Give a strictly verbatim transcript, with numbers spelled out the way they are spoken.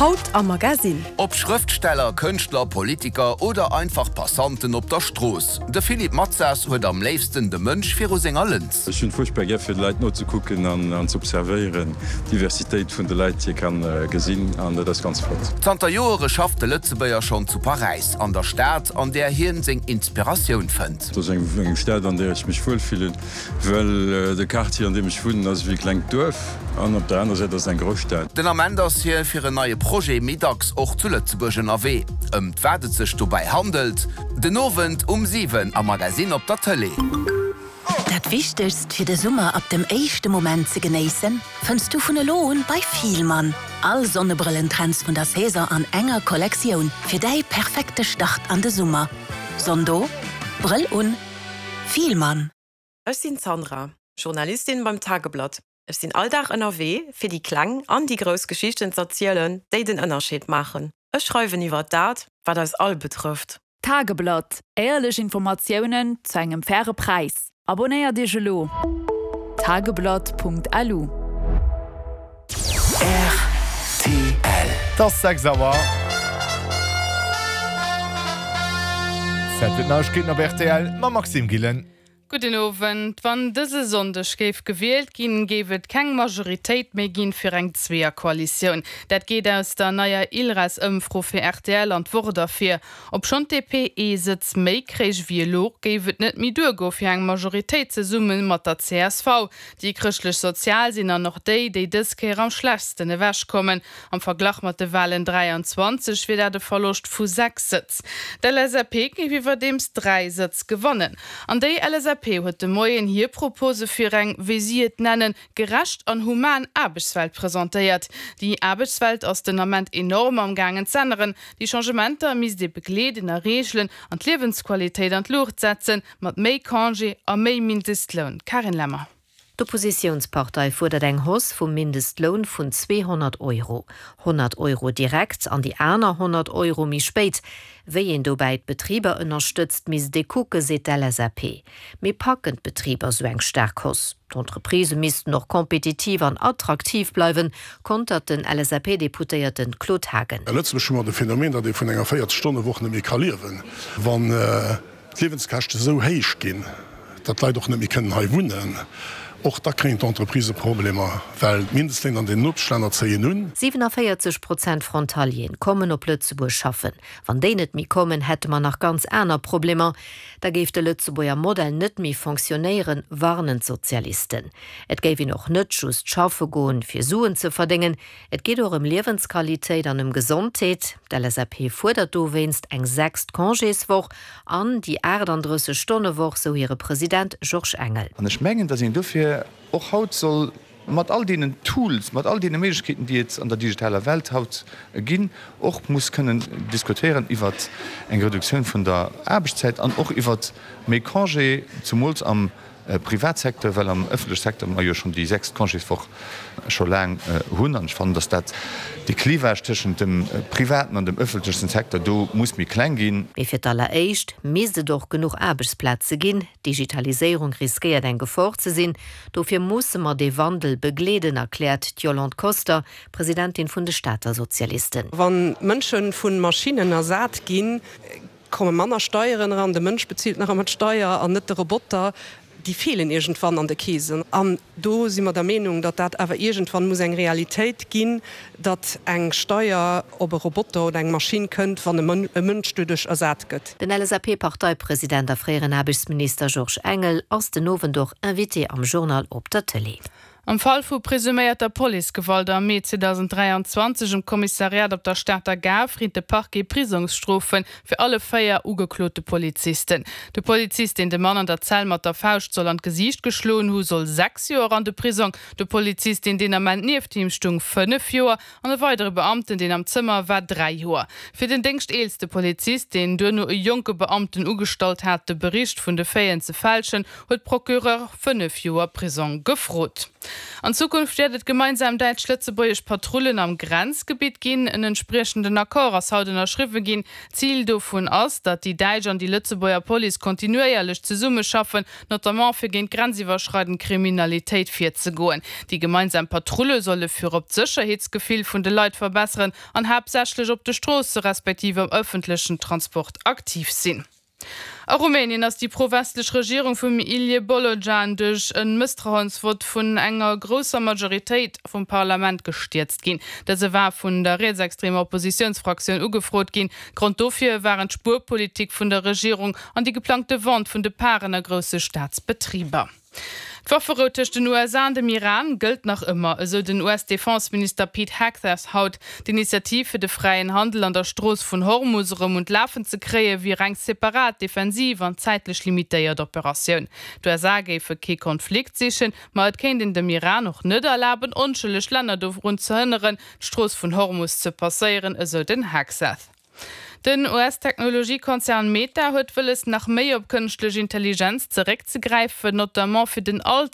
Haut am Magasinn. Ob Schrëftsteller, Kënschtler, Politiker oder einfach Passanten op der Strooss, de Philippe Matsas huet am léifsten de Mënsch viru senger Lëns. Ech hunn fuerchtbar gär fir de Leit nozekucken an an z'observéieren, d'Diversitéit vun de Leit déi ee kann gesinn an dat ass ganz flott. Zanter Joere schafft de Lëtzebuerger schonn zu Paräis, an der Stad, an där hien seng Inspiratioun fënnt. Et ass eng Stad an där ech mech wuel fillen, well de Quartier an deem ech wunnen ass ewéi e klengt Duerf an op der anerer Säit ass et eng grouss Stad. Den Ament ass hie fir en neie Projet méi dacks och zu Lëtzebuerg ënnerwee. Ëmt wat et sech dobäi handelt? Den Owend um siwen am Magazine op der Tëlee. Dat Wichtegst fir de Summer ab dem éischte Moment ze genéissen, fënns du vun elo un bei Fielmann. All Sonnebrëllentrends vun der Saison an enger Kollektioun fir däi perfekte Start an de Summer. Sonn do, Brëll un, Fielmann. Ech sinn d'Sandra, Journalistin beim Tageblatt. Ech sinn all Dag ënnerwee, fir déi kleng an déi grouss Geschichten z'erzielen, déi den Ënnerscheed maachen. Ech schreiwen iwwer dat, wat eis all betrëfft. Tageblatt, Éierlech Informatiounen zu engem faire Präis. Abonéiert Iech elo! Tageblatt.lu. Rtl. Et ass sechs Auer. Zäit fir d'Neiegkeeten op rtl mam Maxime Gillen. Gudden Owend. Wann dëse Sonndeg géif gewielt ginn, géif et keng Majoritéit méi ginn fir eng Zweeërkoalitioun. Dat geet aus der neier ILReS-Ëmfro fir rtl an d'Wort ervir. Obschonn d'DP ee Sëtz méi kréich wéi elo, géif et net méi duergoe fir eng Majoritéit zesumme mat der csv. Déi Chrëschtlech-Sozial sinn dann och déi, déi dës Kéier am schlechtsten ewechkommen. Am Verglach mat de Walen dräianzwanzeg wier dat e Verloscht vu sechs Sëtz. D'LSAP géif iwwerdeems dräi Sëtz gewannen. An déi LSAP huet de Moien hir Propose fir eng, wéi si et nennen, gerecht an human Aarbechtswelt presentéiert. Déi Aarbechtswelt ass den Ament enorm am gaangen z'änneren. Déi Changementer misst ee begleeden a reegelen an d'Liewensqualitéit an d'Luucht setzen, mat méi Congé a méi Mindestloun. Carine Lemmer. D'Oppositiounspartei fuerdert eng Hausse vum Mindestloun vun zweehonnert Euro. Honnert Euro direkt an déi aner honnert Euro méi spéit. Wéi een dobäi d'Betriber ënnerstëtzt, misst ee kucken, seet d'LSAP. Mee packen d'Betriber sou eng staark Hausse? D'Entreprisë missten och kompetitiv an attraktiv bleiwen, kontert den LSAP-Deputéierten Claude Haagen. A Lëtzebuerg hu mer de Phänomen, datt ee vun enger véierzeg-Stonne-Woch net méi ka liewen, wann d'Liewenskäschte sou héich ginn, datt d'Leit och net méi kënnen hei wunnen. Och da kréien d'Entreprisë Problemer, well d'Mindestléin an den Nopeschlänner zéien un. Siwenavéierzeg Prozent Frontalieren kommen op Lëtzebuerg schaffen. Wann déi net méi kommen, hätte mer nach ganz aner Problemer. Da géif de Lëtzebuerger Modell net méi fonctionnéieren, warnen d'Sozialisten. Et géif een och net just schaffe goen, fir Suen ze verdéngen. Et geet och ëm Liewensqualitéit an ëm Gesondheet. D'LSAP fuerdert dowéinst eng sechst Congéswoch an déi aachtandrësseg Stonne Woch, sou hire President Georges Engel. An ech mengen, datt een dofir och haut soll mat all deenen Tools, mat all deene Méiglechkeeten, déi et an der digitaler Welt haut ginn, och muss kënnen diskutéieren iwwer eng Reduktioun vun der Aarbechtszäit an och iwwer méi Congé, zumools am Privatsecteur, well am ëffentleche Secteur mer jo schonn déi sechst Congéswoch scho laang hunn. An ech fannen, datt dat dee Clivage tëschent dem privaten an dem ëffentlechen Secteur do muss méi kleng ginn. Mee fir d'alleréischt misst et och genuch Aarbechtsplaze ginn. D'Digitaliséierung riskéiert eng Gefor ze sinn. Dofir musse mer dee Wandel begleeden, erkläert d'Yolande Koster, Presidentin vun de Stater Sozialisten. Wa Mënsche vu Maschinnen ersat ginn, komme manner Steieren eran, de Mënsch bezilt nach ëmmer d'Steier an net de Roboter. Déi feelen iergendwann an de Keesen. An do si mer der Meenung, datt dat awer iergendwann muss eng Realitéit ginn, datt eng Steier op e Roboter oder eng Maschinn kënnt, wann e Mënsch doduerch ersat gëtt. Den LSAP-Parteipresident a fréieren Aarbechtsminister Georges Engel ass den Owend och Invité am Journal op der Tëlee. Am Fall vu presuméierter Policegewalt am Mee zweedausenddräianzwanzeg um Kommissariat op der Stater Gare freet de Parquet Prisongsstrofe fir alle véier ugeklote Polizisten. De Polizist, deen de Mann an der Zell mat der Fauscht soll an d'Gesiicht geschloen hu, soll sechs Joer an de Prisong, de Polizist, deen deen Ament nieft him stung, fënnef Joer an e weidere Beamten, deen am Zëmmer war, dräi Joer. Fir den déngschteelste Polizist, deen duerno e jonke Beamten ugestallt hat, de Bericht vun de Faiten ze fälschen, huet d'Procureur fënnef Joer Prisong gefrot. An Zukunft wäert et gemeinsam däitsch-lëtzebuergesch Patrullen am Grenzgebitt ginn. En entspriechenden Accord ass haut ënnerschriwwe ginn. Zil dovun ass, datt déi däitsch an déi Lëtzebuerger Police kontinuéierlech zesummeschaffen, notamment fir géint grenziwwerschreidend Kriminalitéit virzegoen. Déi gemeinsam Patrulle solle virop d'Sécherheetsgefill vun de Leit verbesseren an haaptsächlech op de Stroosse respektiv am ëffentlechen Transport aktiv sinn. A Rumänien ass déi pro-westlech Regierung vum Ilie Bolojan duerch e Mësstrauensvott vun enger grousser Majoritéit vum Parlament gestierzt ginn. Dëse war vun der rietsextremer Oppositiounsfraktioun ugefrot ginn. Grond dofir waren d'Spuerpolitik vun der Regierung an déi geplangte Vente vun de Paren a grousse Staatsbetriber. D'Wafferou tëscht den U S A an dem Iran gëllt nach ëmmer, esou den U S-Defenseminister Pete Hegseth haut. D'Initiativ fir de fräien Handel an der Strooss vun Hormus erëm un d'Lafen ze kréie wier eng separat, defensiv an zäitlech limitéiert Operatioun. D'U S A géife kee Konflikt sichen, ma et kéint een dem Iran och net erlaben, onschëlleg Länner dorun ze hënneren, d'Strooss vun Hormus ze passéieren, esou den Hegseth. Den U S-Technologiekonzern Meta huet wëlles, nach méi op kënschtlech Intelligenz zeréckzegräifen, notamment fir den Alter